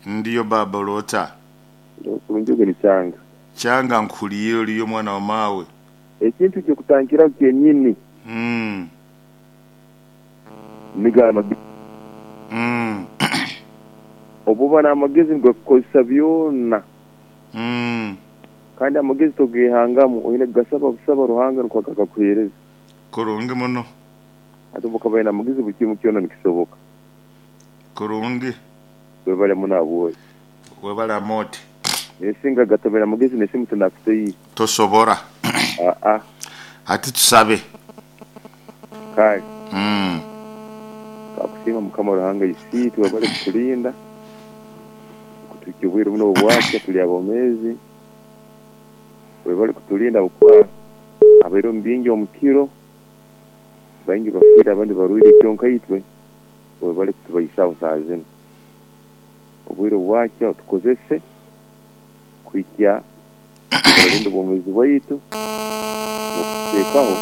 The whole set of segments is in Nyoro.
Ndiyo baba oloota. Ndi kurungi ogwo ni Kyanga. Kyanga nkuhuliire oliyo mwana wa maawe. Ekintu eky'okutandikiraho kyenyini nigo amagezi. Obu oba n'amagezi nigakukozesa byona. Kandi amagezi togehangamu, oine kugasaba busaba Ruhanga nukwo agakuheereza. Kurungi muno. Hati obu okaba oine amagezi buli kimu kyona nikisoboka. Kurungi. Webale muno habwoki. Webale Amooti. Naye singa gatabaire amagezi n'esimu tinakutaire. Tosobora. Aa. Hati tusabe. Kale. Twakusiima Mukama Ruhanga Isiitwe webale kutulinda okutuhikya obwire bunu obwakya tuli abomeezi. Webale kutulinda habwokuba habaire omu bingi omu kiro, baingi bafiire abandi barwaire kyonka itwe webale kutubaisaho saaha zinu. Obwire obwakya otukozese kuhikya oralinda obwomeezi bwaitu n'okututeekaho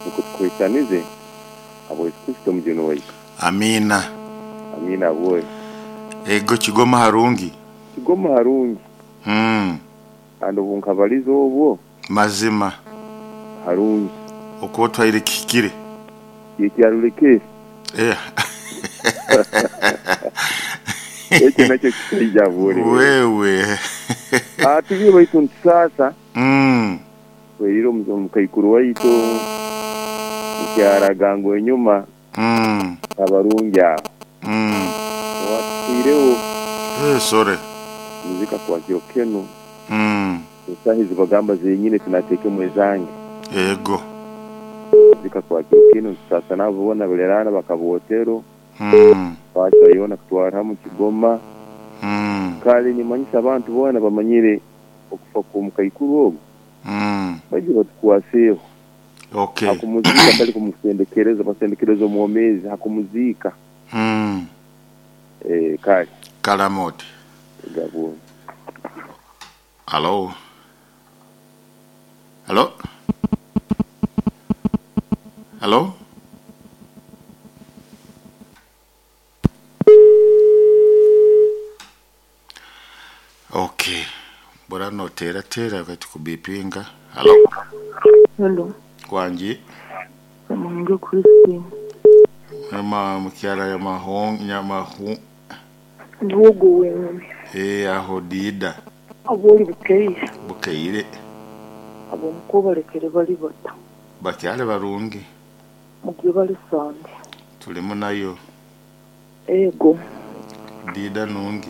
nukwo tukuhaisanize habwa Yesu Kristo Omujuni waitu. Amiina. Amiina habwoye. Ego Kigoma harungi. Kigoma harungi. Kandi obu nkabaliza obwo. Mazima. Harungi. Oku otwaire kihikire. Kyekyarulekere. Ekyo nakyo kikaija habw'ori wewe. Wewe. Tubire baitu nitusaasa. Tweriire omukaikuru waitu mukyara Gango enyuma abarungi aho. Owatufiireho. Sorry. Muzika kwa kiro kinu. Esaaha ezi bagamba zenyini tinateekemu ezange. Ego. Muzika kwa kiro kinu nitusaasa nabo boona Buleraana bakabootero. Paaka yoona kutwarra hamu Kigoma. Kale nimanyisa abantu boona bamanyire okufa kw'omukaikuru ogu, baije batukwaseeho ha kumuziika hatali kumusendekereza, basendekereza omwomeezi ha kumuziika. Kale. Kale Amooti. Gabwo. Halo? Halo? Halo? Ok, bora noteerateera baitu kubipinga. Halo? Hello. Wangi. Muhinge Christine. Nyama mukyala Nyamahong Nyamahu. Niwe ogwo wenyini. Eeh aho Dida. Abori bukeire. Bukeire. Ab'omuka obalekere bali bata? Bakyali barungi. Mugye bali Sande. Tulimu nayo. Ego. Dida nungi.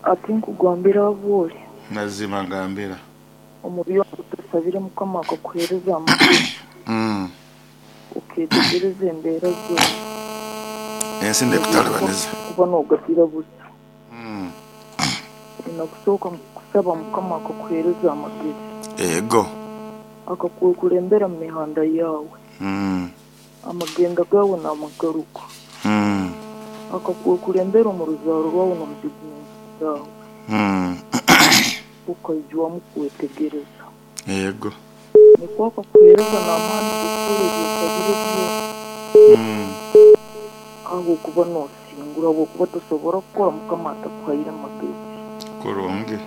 Ati nkugambire abwori. Mazima ngambira. Omu byona otasabire Mukama akakuheereza amagezi. Oketegereza embeera zoona. Ensi n'ekutalibaniza. Kuba nogatira busa. Oina kusooka kusaba Mukama akakuheereza amagezi. Ego. Akakukulembera mu mihanda yaawe. Amagenda gaawe n'amagaruka. Akakukulembera omu ruzaaro rwawe n'omu bizinesi zaawe. Okaijwamu kwetegereza. Ego. Nikwo akakuheereza n'amaani g'okukora ebi osabire byona. Ahabw'okuba noosingura, ahabw'okuba tosobora kukora Mukama atakuhaire magezi. Kurungi.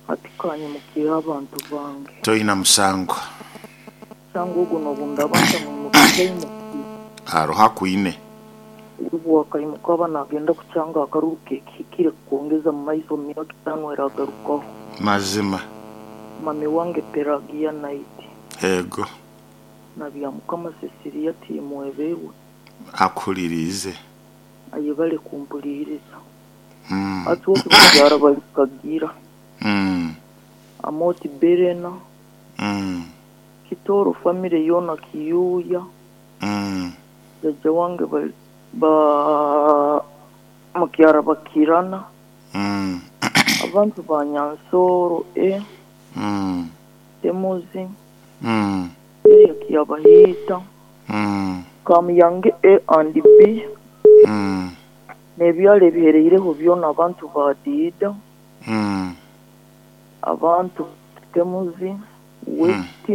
Hati kanyimukireho abantu bange. Toina musango. Musango ogwo n'obu ndaaba ntamwimukize aimukire. Haroho akwine. Obu akaimuka aba naagenda kukyanga akaruru ke kihikire kukwongeza mu maiso omu myaka etaano eragarukaho. Mazima. Mami wange Pelagia Night. Ego. Na Byamukama Cecilia Tiimwebeirwe. Akuhuliriize. Ayebare kumpuliiriza. Hati oti bakyara bali Kagira. Amoti Berena. Kitooro famire yoona Kiyuuya. Jajja wange ba mukyara Bakirana. Abantu ba Nyansooro A. Temuzi. Area Kyabahiita. Kamuyange A and B. N'ebyaro ebihereireho byona abantu ba Diida. Abantu Temuzi, West,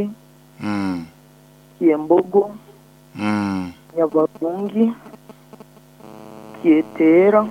Kyembogo, Nyabarungi, Kyeteera.